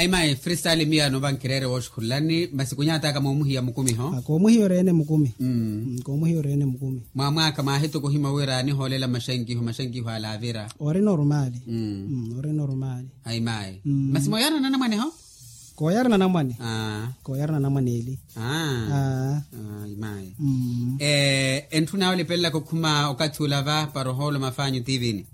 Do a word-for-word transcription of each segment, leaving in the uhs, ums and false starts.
Mayi freestyle miyo anopa nkireere wooxukhululani masi kunyataka moomuhiya mukumi ho. Koomuhiya oreene mukumi. Koomuhiya oreene mukumi. Mwaamwaaka mwaahituku ohima wira anihoolela maxankiho maxankiho alaavira. Ori normaali. Ori normaali. Ayi mayi. Masi mooyarana namwane ho. Kooyarana namwane. Kooyarana namwane eli. Ayi mayi. Entthuna yoolipelelaka okhuma okathi ula va para ohoolo mafaanyu tiivini.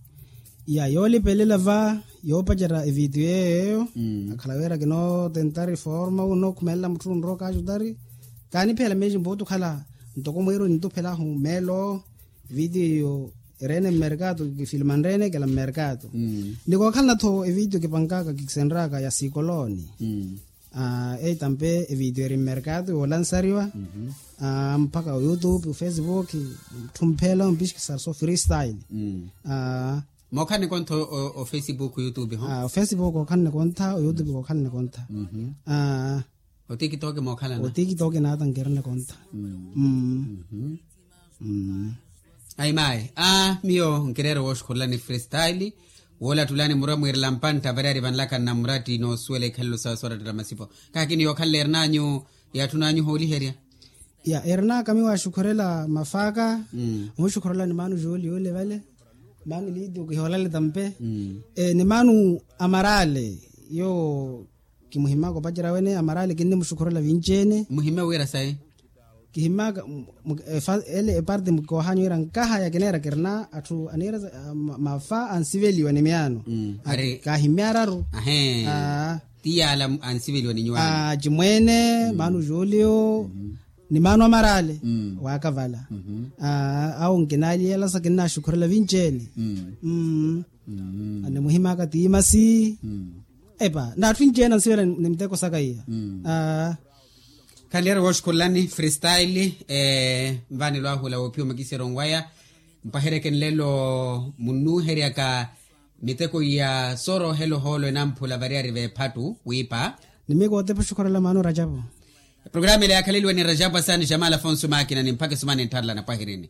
Ya yoolipelela va yoopacerya evidiyo yeeyo. Akhala wira kinootentari forma wu nookhumelela mutthu onrowa okaxutari. Kaaniphela meexi mpuutu okhala ntoko mwiiru nintuphelahu meelo. Evidiyo ereene mmerkato kifilimanreene kela mmerkato. Ni kookhalana-tho evidiyo kipankaka kikisenraka ya sikoloni. Eyi tampe evidiyo eri mmerkato yoolansariwa. Mpakha oyoutube ofacebook. Mutthumphela ompixikisarisa ofreestyle. Mookhalani kontha ofacebook oyoutube ho. Ofacebook ookhalani kontha oyoutube ookhalani kontha. Otikitoki mookhalana. Otikitoki naata nkirina kontha. Ayi mayi a miyo nkireere wooxukhululani freestyle. Woolattulani murwa mwiirela mpantta variyari vanlaka nnamuratti noosuwela ikhalelo sawe soorattela masipo. Kaakini yookhalela erinanyu yaatthunanyu hooliherya. Ya erinaka miyo waaxukhurela mafaaka. Omuxukhurela ni maanu juuli yule vale. Maanu liitu kihoolale tampe. Ni maanu amaraale yo kimuhimaka opacerya wene amaraale kinnimuxukhurela vinci-ene. Muhime wira sayi. Kihimmaka ele eparte koohanya wira nkahaya kineera kirina atthu aniira mafa ansiveliwa ni miyaano. Kaahimya araru. Ti yaala ansiveliwa ni nyuwaani. Acimweene maanu julio ni maanu amaraale waakavala. Awo nkinaaliyelasa kinnaxukhurela vinci-ene. Animuhimaka tiimasi. Epa naatthu inci-ene ansivela ni miteko saka iya. Khanleera wooxukhululani freestyle. Nvaanelo ahula woophiwa makisero nwaya mpwaheryeke nlelo munnuuheryaka miteko iya sooroohela ohoolo enamphula variyari veephattu wiipa. Ni miyo kootepa oxukhurela maano rajapu. Eprograma ela yaakhaleliwa ni rajapu asaani jamal afonso maakina ni mpakha esumani enttharela napwahirini.